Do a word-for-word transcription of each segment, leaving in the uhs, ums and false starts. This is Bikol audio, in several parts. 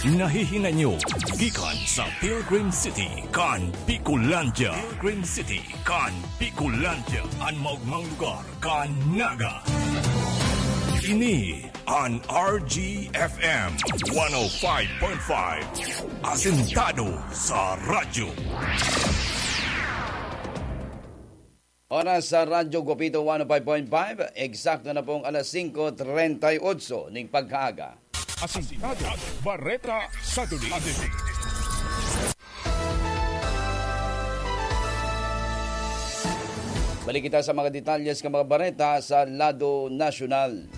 Nahihinay nyo gikan sa Pilgrim City kan Bicolandia. Pilgrim City kan Bicolandia, an maogmang lugar kan Naga. Ini an R G F M one oh five point five, asentado sa radyo. Oras sa Radyo Guapito one oh five point five, eksakto na pong alas singko treinta y ocho ning pagkaaga. Asintado, Bareta sa Duli. Balik kita sa mga detalles kan mga bareta sa lado nasyonal.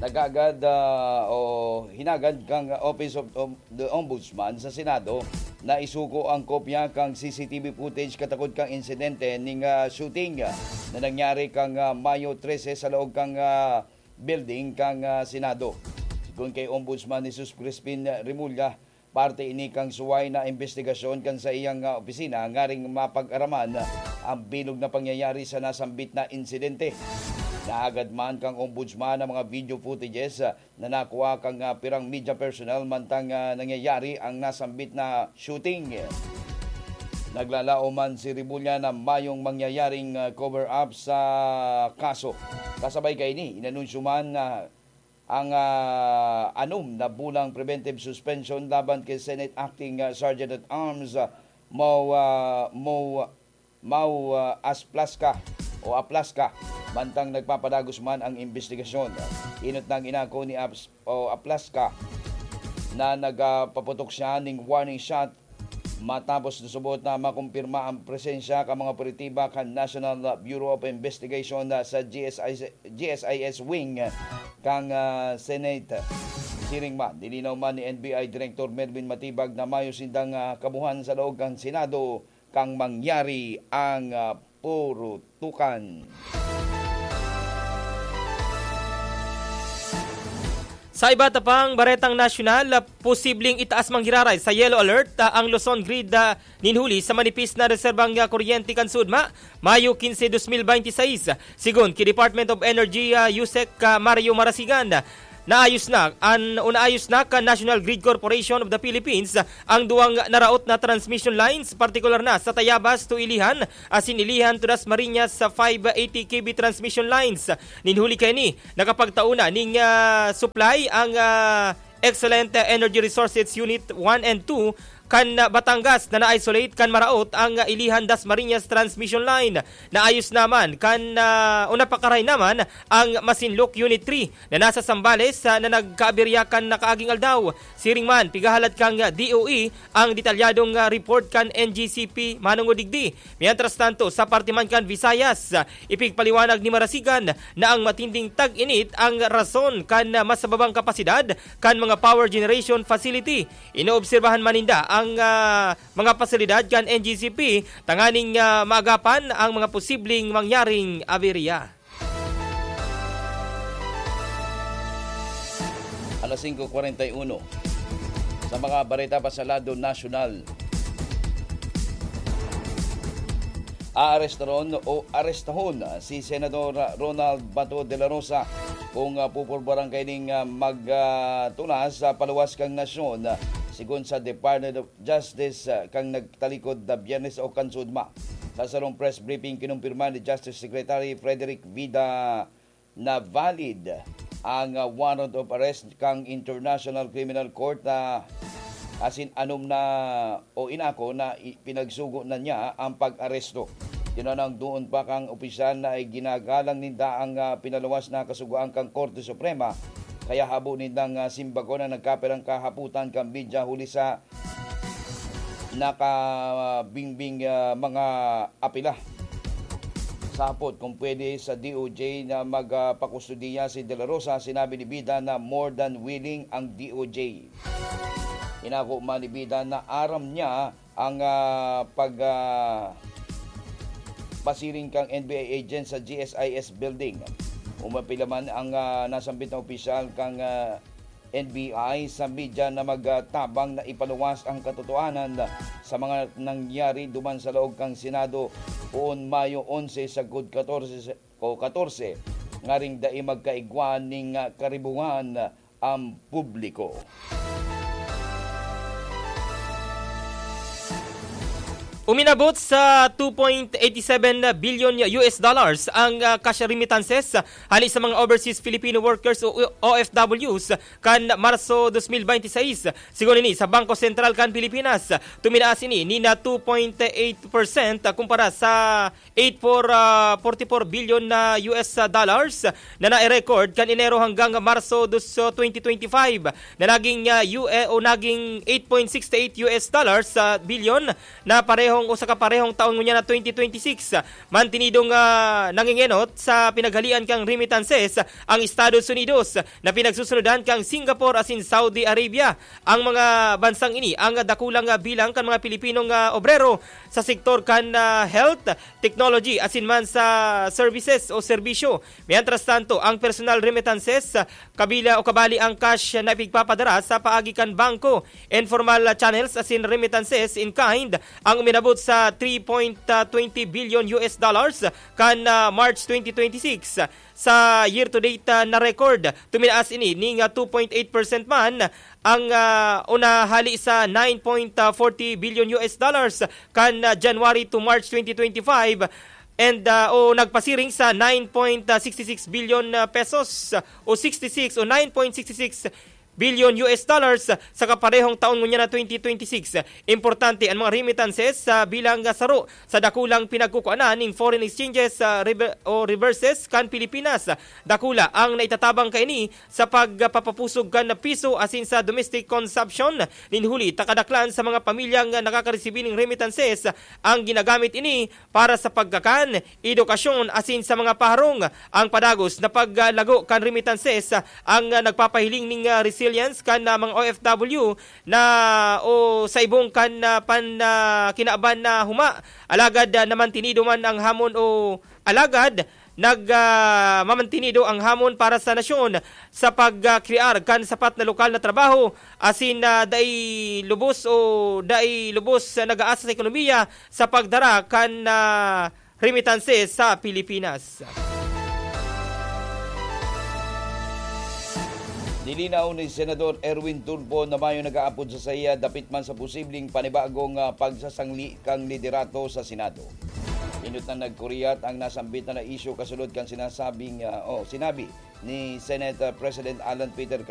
Nagagad, ah, o hinagad kan Office of, of the Ombudsman sa Senado na isugo ang kopya kan C C T V footage katakod kan insidente ning, ah, shooting, ah, na nangyari kan, ah, Mayo trese sa laog kan, ah, building kan, ah, Senado. Sigon kay Ombudsman Jesus Crispin Remulla, parte ini kan suway na imbestigasyon kan saiyang, ah, opisina ngaring mapag-araman ang bilog na pangyayari sa nasambit na insidente. Naagad man kan Ombudsman ang mga video footages, ah, na nakua kan, ah, pirang media personnel mantang, ah, nangyayari ang nasambit na shooting. Naglalaom man si Remulla na mayong mangyayaring, ah, cover-up sa kaso. Kasabay kaini, inanunsyo man na ang, ah, anom na bulang preventive suspension laban kay Senate Acting, ah, Sergeant at Arms, ah, Mo, ah, Mo, Mau, ah, Asplasca o Aplasca, mantang nagpapadagos man ang imbestigasyon. Inot nang inako ni Aps-, o Aplasca na nagpaputok siya ning warning shot matapos nasubot na makumpirma ang presensya kan mga operatiba kan National Bureau of Investigation sa G S I, G S I S wing kan, ah, Senate. Siring man, nilinaw man ni N B I Director Melvin Matibag na mayo sindang, ah, kabuhan sa laog kan Senado kan mangyari ang, ah, purutukan. Sa iba ta pang baretang nasyonal, ah, posibleng itaas manggiraray sa yellow alert, ah, ang Luzon grid, ah, nin huli sa manipis na reserbang, ah, kuryente kan Sudma, Mayo quince, dos mil bente y seis. Sigon ki Department of Energy, ah, USEC, ah, Mario Marasigan, naayos na an, o naayos na kan National Grid Corporation of the Philippines ang duwang naraot na transmission lines, partikular na sa Tayabas to Ilijan, asin Ilijan to Dasmariñas sa five eighty K V transmission lines. Nin huli kaini, nakapagtao na ning, ah, supply ang, ah, Excellent Energy Resources Unit one and two kan, ah, Batangas na na-isolate kan maraot ang, ah, Ilijan Dasmariñas Transmission Line. Naayos naman kan, ah, o napakaray naman ang Masinloc Unit three na nasa Zambales, ah, na nagkaaberya kan nakaaging aldaw. Siring man, pigahalad kan, ah, D O E ang detalyadong, ah, report kan N G C P manongod digdi. Mientras tanto, sa parte man kan Visayas, ah, ipigpaliwanag ni Marasigan na ang matinding tag-init ang rason kan, ah, mas mababang kapasidad kan mga power generation facility. Inoobserbahan man ninda ang, ah, mga pasilidad kan N G C P tanganing, ah, maagapan ang mga posibleng mangyaring aberya. Alas singko kwarenta y uno. Sa mga bareta pa sa lado nasyonal, aarestaron o arestahon si Senador Ronald Bato de la Rosa kung, ah, pupurbaran kaining, ah, mag, ah, tunas sa paluwas kan nasyon, ah, sigon sa Department of Justice, ah, kan nagtalikod na Biyernes o kan Sudma. Sa sarong press briefing, kinumpirma ni Justice Secretary Frederick Vida na valid ang, ah, warrant of arrest kan International Criminal Court, ah, asin anom na o inako na i-, pinagsugo na niya ang pag-aresto. Tinanang doon pa kan opisyal na iginagalang ninda ang, ah, pinaluwas na kasugoan kan Korte Suprema, kaya habo nindang, ah, simbagon ang nagkapirang kahapotan kan media huli sa nakabingbing, ah, mga apela. Sa hapot kung pwede sa D O J na magpakustodiya si De La Rosa, sinabi ni Vida na more than willing ang D O J. Inako man ni Vida na aram niya ang, ah, pag, ah, pasiring kang N B I agent sa G S I S building. Umapila man ang, ah, nasambit na opisyal kang, ah, N B I sa media na magtabang na ipaluwas ang katotohanan sa mga nangyari duman sa laog kan Senado poon Mayo onse sagkod katorse o katorse, ngaring dai magkaigwa nin, ah, karibuhan ang publiko. Uminabot sa two point eight seven billion U S dollars ang, ah, cash remittances hali sa mga overseas Filipino workers o O F Ws kan Marso twenty twenty-six. Sigon ini sa Bangko Sentral kan Pilipinas, tuminaas ini ni na two point eight percent kumpara sa eight four, ah, forty-four billion na U S dollars na nai-record kan Enero hanggang Marso dos, twenty twenty-five, na naging, ah, U-, eh, o naging eight point six eight U S dollars sa bilyon na parehong o sa kaparehong taon ngunyan na twenty twenty-six. Mantinidong, ah, nangingenot sa pinaghalian kang remittances ang Estados Unidos, na pinagsusunodan kang Singapore asin Saudi Arabia. Ang mga bansang ini ang dakulang, ah, bilang kan mga Pilipinong, ah, obrero sa sektor kan, ah, health, technology asin man sa services o serbisyo. Mientras tanto, ang personal remittances, ah, kabila o kabali ang cash na ipigpapadara sa paagi kan bangko, informal channels asin remittances in kind ang uminabot sa three point twenty billion U S dollars kan, ah, March twenty twenty-six. Sa year-to-date, ah, na record, tuminaas ini ning, ah, two point eight percent man ang, ah, o nahali sa nine point forty billion U S dollars kan, ah, January to March twenty twenty-five, and, ah, o nagpasiring sa nine point sixty six billion, ah, pesos, ah, o sixty six o nine point sixty six billion U S dollars sa kaparehong taon ngunyan na twenty twenty-six. Importante ang mga remittances, ah, bilang, ah, saro sa dakulang pinagkukuanan ning foreign exchanges, ah, rever-, o reverses kan Pilipinas. Dakula ang naitatabang kaini sa pagpapapusog kan piso asin sa domestic consumption nin huli ta kadaklan sa mga pamilyang nakakaresibi ning remittances ang ginagamit ini para sa pagkakan, edukasyon asin sa mga paharong. Ang padagos na paglago kan remittances ang nagpapahiling ning, ah, resilience kan, ah, mga O F W na o sa ibong kan, ah, pan, ah, kinaban na huma. Alagad, ah, namantinido man ang hamon o alagad nag, ah, mamantinido ang hamon para sa nasyon sa pagkrear kan sapat na lokal na trabaho asin, ah, dai lubos o dai lubos nag-aasa sa ekonomiya sa pagdara kan, ah, remittances sa Pilipinas. Nilinaw ni Senador Erwin Tulfo na mayo nag-aapod sa saiya dapit man sa posibleng panibagong, ah, pagsasangli kan liderato sa Senado. Inot na nagkuriyat ang nasambitan na isyu kasunod kan sinasabing, ah, o sinabi ni Senate, ah, President Alan Peter